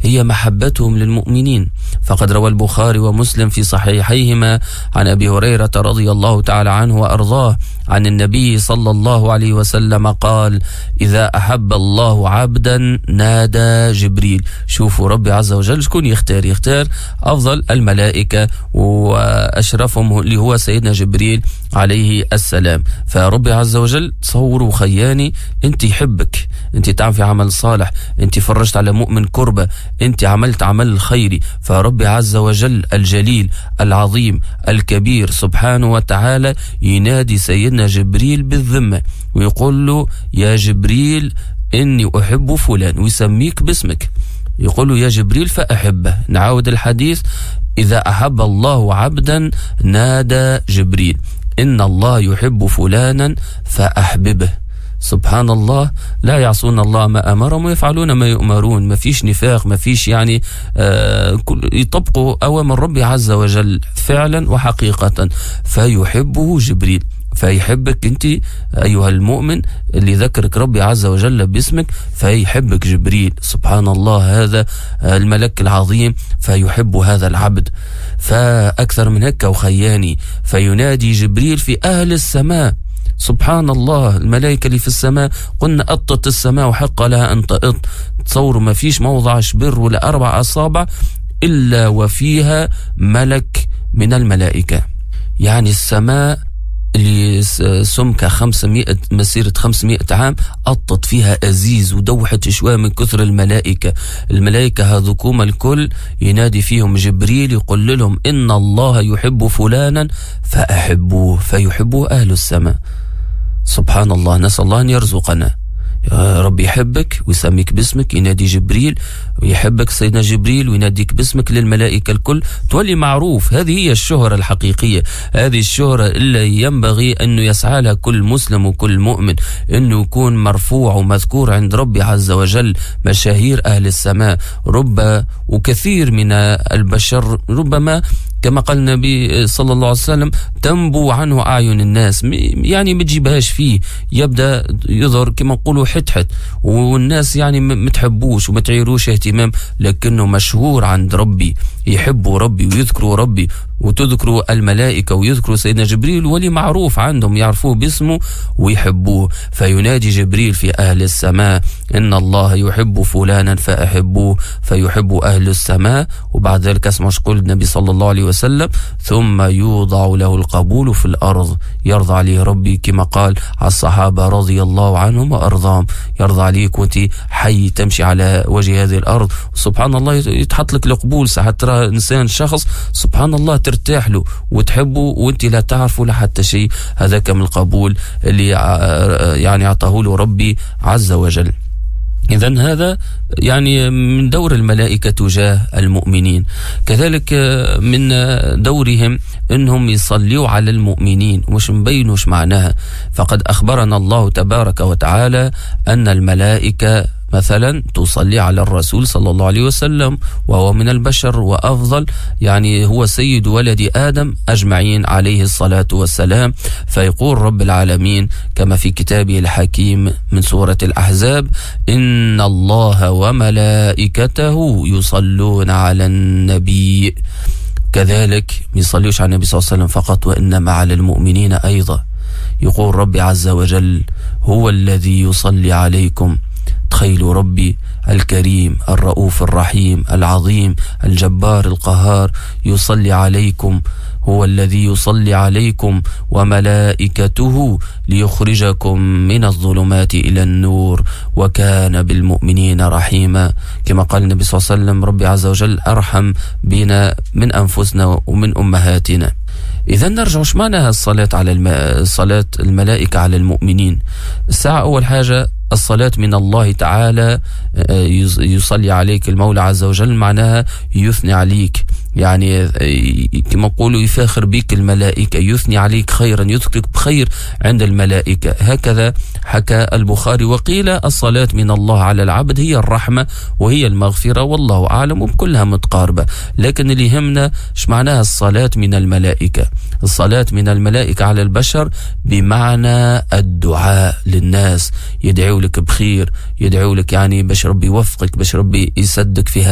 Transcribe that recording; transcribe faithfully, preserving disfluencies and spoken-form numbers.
هي محبتهم للمؤمنين. فقد روى البخاري ومسلم في صحيحيهما عن أبي هريرة رضي الله تعالى عنه وأرضاه عن النبي صلى الله عليه وسلم قال: إذا أحب الله عبدا نادى جبريل. شوفوا ربي عز وجل شكون يختار، يختار أفضل الملائكة وأشرفهم اللي هو سيدنا جبريل عليه السلام. فربي عز وجل تصوروا خياني، انت يحبك، انت تعمل في عمل صالح، انت فرجت على مؤمن كربة، انت عملت عمل خيري، فربي عز وجل الجليل العظيم الكبير سبحانه وتعالى ينادي سيدنا جبريل بالذمة ويقول له: يا جبريل إني أحب فلان، ويسميك باسمك، يقول له: يا جبريل فأحبه. نعاود الحديث: إذا أحب الله عبدا نادى جبريل، إن الله يحب فلانا فأحببه. سبحان الله، لا يعصون الله ما أمرهم ويفعلون ما يؤمرون، ما فيش نفاق، ما فيش يعني آه يطبقوا أوامر ربي عز وجل فعلا وحقيقة. فيحبه جبريل، فيحبك أنت أيها المؤمن اللي ذكرك ربي عز وجل باسمك، فيحبك جبريل. سبحان الله، هذا الملك العظيم فيحب هذا العبد. فأكثر من هكا وخياني، فينادي جبريل في أهل السماء. سبحان الله، الملائكة اللي في السماء، قلنا أطت السماء وحق لها أن تأط. تصوروا ما فيش موضع شبر ولا أربع أصابع إلا وفيها ملك من الملائكة. يعني السماء اللي سمكة خمسمائة مسيرة خمسمائة عام أطت فيها أزيز ودوحت شوية من كثر الملائكة. الملائكة هذوكم الكل ينادي فيهم جبريل يقول لهم: إن الله يحب فلانا فأحبوه، فيحبه أهل السماء. سبحان الله، نسأل الله أن يرزقنا. يا رب يحبك ويسميك باسمك، ينادي جبريل ويحبك سيدنا جبريل ويناديك باسمك للملائكة الكل، تولي معروف. هذه هي الشهرة الحقيقية، هذه الشهرة اللي ينبغي أنه يسعى لها كل مسلم وكل مؤمن، أنه يكون مرفوع ومذكور عند ربي عز وجل. مشاهير أهل السماء، رب وكثير من البشر ربما كما قال النبي صلى الله عليه وسلم تنبو عنه أعين الناس، يعني ما تجيبهاش فيه، يبدأ يظهر كما نقولوا حتحت، والناس يعني ما تحبوش وما تعيروش اهتمام، لكنه مشهور عند ربي، يحبوا ربي ويذكروا ربي وتذكروا الملائكة ويذكروا سيدنا جبريل، ولي معروف عندهم يعرفوه باسمه ويحبوه. فينادي جبريل في أهل السماء: إن الله يحب فلانا فأحبوه، فيحب أهل السماء. وبعد ذلك اسمع قول النبي صلى الله عليه وسلم: ثم يوضع له القبول في الأرض، يرضى عليه ربي كما قال على الصحابة رضي الله عنهم وأرضاهم، يرضى عليك وانت حي تمشي على وجه هذه الأرض. سبحان الله، يتحط لك القبول. ساعات ترى إنسان شخص سبحان الله ترتاح له وتحبه وانت لا تعرفه لا حتى شيء، هذاك من القبول اللي يعني أعطاه له ربي عز وجل. إذن هذا يعني من دور الملائكة تجاه المؤمنين. كذلك من دورهم أنهم يصلوا على المؤمنين، وش مبينوش معناها. فقد أخبرنا الله تبارك وتعالى أن الملائكة مثلا تصلي على الرسول صلى الله عليه وسلم، وهو من البشر وأفضل، يعني هو سيد ولد آدم أجمعين عليه الصلاة والسلام. فيقول رب العالمين كما في كتابه الحكيم من سورة الأحزاب: إن الله وملائكته يصلون على النبي. كذلك ما يصليوش على النبي صلى الله عليه وسلم فقط، وإنما على المؤمنين أيضا. يقول ربي عز وجل: هو الذي يصلي عليكم. تخيلوا ربي الكريم الرؤوف الرحيم العظيم الجبار القهار يصلي عليكم، هو الذي يصلي عليكم وملائكته ليخرجكم من الظلمات إلى النور وكان بالمؤمنين رحيما. كما قال النبي صلى الله عليه وسلم: ربي عز وجل أرحم بنا من أنفسنا ومن أمهاتنا. إذا نرجع وش معناها الصلاة على الم... صلاة الملائكة على المؤمنين. الساعة أول حاجة الصلاة من الله تعالى، يصلي عليك المولى عز وجل، معناها يثني عليك، يعني كما نقولوا يفاخر بك الملائكة، يثني عليك خيرا، يذكرك بخير عند الملائكة. هكذا حكى البخاري. وقيل الصلاة من الله على العبد هي الرحمة وهي المغفرة، والله أعلم، وكلها متقاربة. لكن اللي يهمنا ايش معناها الصلاة من الملائكة. الصلاة من الملائكة على البشر بمعنى الدعاء للناس، يدعو لك بخير، يدعو لك يعني باش ربي يوفقك، باش ربي يسدك في